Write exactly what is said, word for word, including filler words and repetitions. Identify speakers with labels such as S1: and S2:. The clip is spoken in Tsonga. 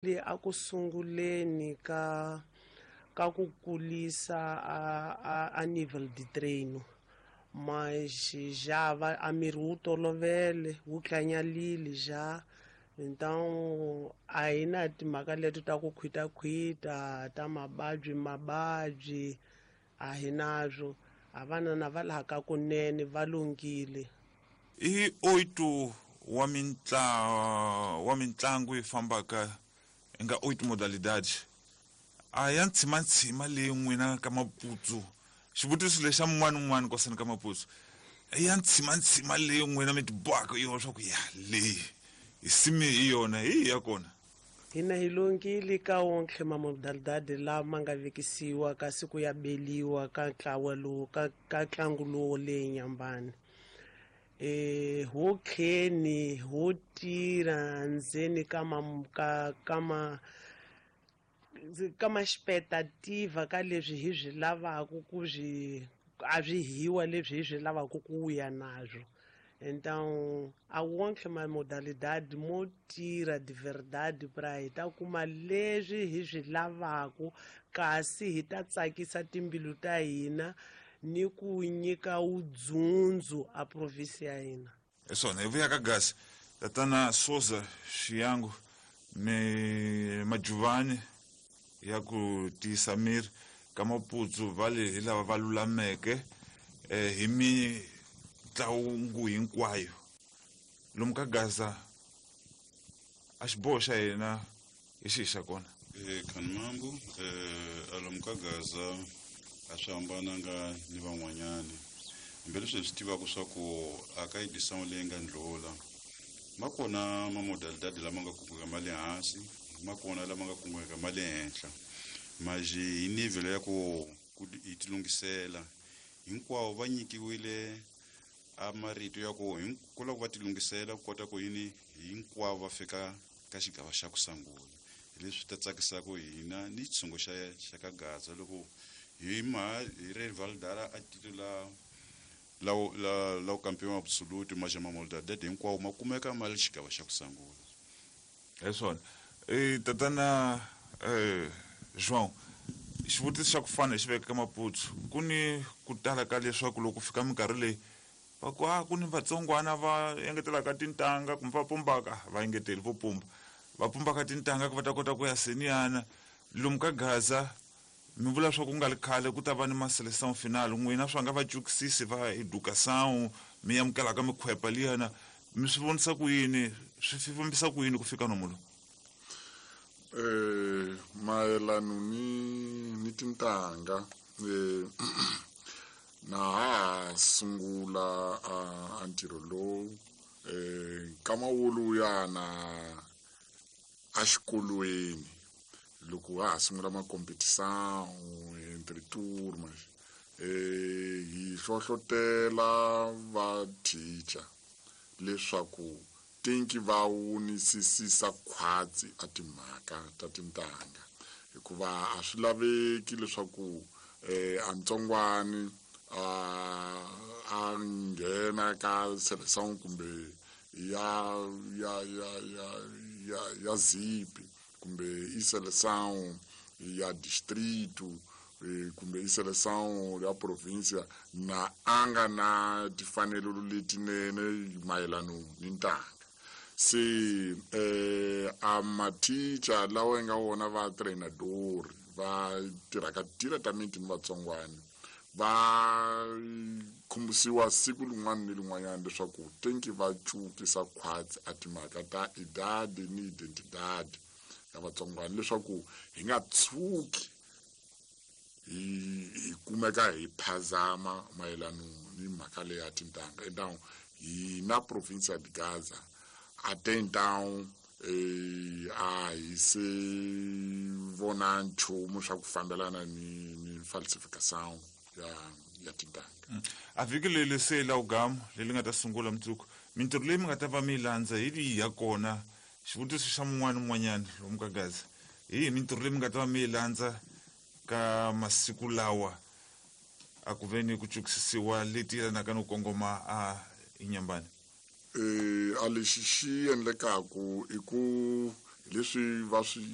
S1: A ku sunguleni ka ka ku kulisa a, a, a nível de treino, mas já va, a miri wu tolovele wu tlanyalile já. Então a hi na timhaka leti ta ku khwitakhwita ta mababyi mababyi a hi nazwo. A vana na va laha ka kunene va lunghile.
S2: I oito wa mintla wa mitlangu yi fambaka nga oito modalidades a ya ntshima-ntshima leyi n'wina ka Maputsu. Xivutiso lexa mun'wana un'wana kosani ka Maputsu, ya ntshima-ntshima leyi n'wina mi ti bohaka yona swa ku ya leyi hi simi hi yona hi ya kona?
S1: Hina hi lunghile ka wonke mamodalidade lama nga vekisiwa kasi ku ya beliwa ka ntlawa lowu ka ka ntlangu lowu leyi Nyambani. E ho kheni ho tirha ndzeni ka ma ka ka ma ka ma expectativa ka leswi hi swi lavaka ku swi a swi hiwa leswi hi swi lavaka ku ya nazwo. Então a wonke ma modalidade mo tirha de verdade pra hi ta kuma leswi hi swi lavaka, kasi hi ta tsakisa timbilu ta hina ni ku nyika wudzundzu a provinsi ya hina.
S2: Hi swona hi vuya ka Gaza, tatana Soza Xiyangu ni Majuvani ya ku tiyisa miri ka Maputsu va le hi lava va lulameke eh, hi mitlangu hinkwayo lomu ka Gaza. A xiboho xa hina hi xihi xa kona?
S3: E Khanimambu, eh alomu ka Gaza a swi hambananga ni van'wanyani, hambileswi hi swi tivaka swa ku a ka edição leyi nga ndlula ma kona mamodalidade lama nga kungeka ma le hansi, ma kona lama nga kungeka ma le henhla, maji hi nível ya ku ku hi tilunghisela hinkwavo va nyikiwile a marito ya ku ku loko va tilunghisela ku kota ku yini hinkwavo va fika ka xigava xa ku sungula. Hi leswi ta tsakisaka hina ni xitshungu xa xa ka Gaza loko hi ma hi ri Valdara a titula la la la campeão absoluto, mas ma modalidade hinkwawo ma kumeka ma le xigava xa ku sungula.
S2: Hi swona. E tatana eh João, xivutiso xa ku fana hi xi veka ka Maputsu. Ku ni ku tala ka leswaku loko fika minkarhi leyi va ku a ku ni vatsongwana va engetelaka tintanga kumbe va pumbaka, va engeteli vo pumba, va pumbaka tintanga ku va ta kota ku ya seniyana lomu ka Gaza. Mi vula swa ku nga ri khale ku ta va ni ma-seleção final, n'wina swa nga va cukisisi va educação mi amukelaka mikhwepa liyana, mi swi vonisa ku yini, swi fambisa ku yini ku fika nomu lowu?
S4: Eh mayelano ni ni tintanga, eh na ha sungula a ntirho lowu eh nkama woluyana a xikolweni loko ha ha sungula ma-competição entre turmas, eh hi hlohlotela va teacher leswaku tinki va wunisisisa khwatsi a timhaka ta tintanga, hikuva a swi laveki leswaku eh a ntsongwani a a nghena ka seleção kumbe ya ya ya ya ya ya zipi kumbe i seleção ya distrito kumbe i seleção ya província na a nga na timfanelo letinene mayelano ni ntanga. Se eh a mathicha lawa nga wona va treinador va tirhaka diretamente ni vatsongwana va khumbisiwa siku rin'wana ni rin'wanyana leswaku tenki va cukisa khwatsi a timhaka ta idade ni identidade ya vatsongwana, leswaku hi nga tshuki hi hi kumeka hi phazama mayelano ni mhaka leyi ya tintanga. Então hina província de Gaza até então eh a hi se vona nchumu swa ku fambelana ni ni falsificação ya ya tintanga.
S2: A vhiki leri se la ugamu leri nga ta sungula mundzuku, mintirho leyi mi nga ta va mi yi landza hi leyi ya kona? Xivutiso xa mun'wana un'wanyana lomu ka Gaza, hi yihi mintirho leyi mi nga ta va mi yi landza ka masiku lawa a ku ve ni ku cukisisiwa leti yelanaka no kongoma a Inyambani?
S4: Eh a lexi xi endlekaku i ku leswi va swi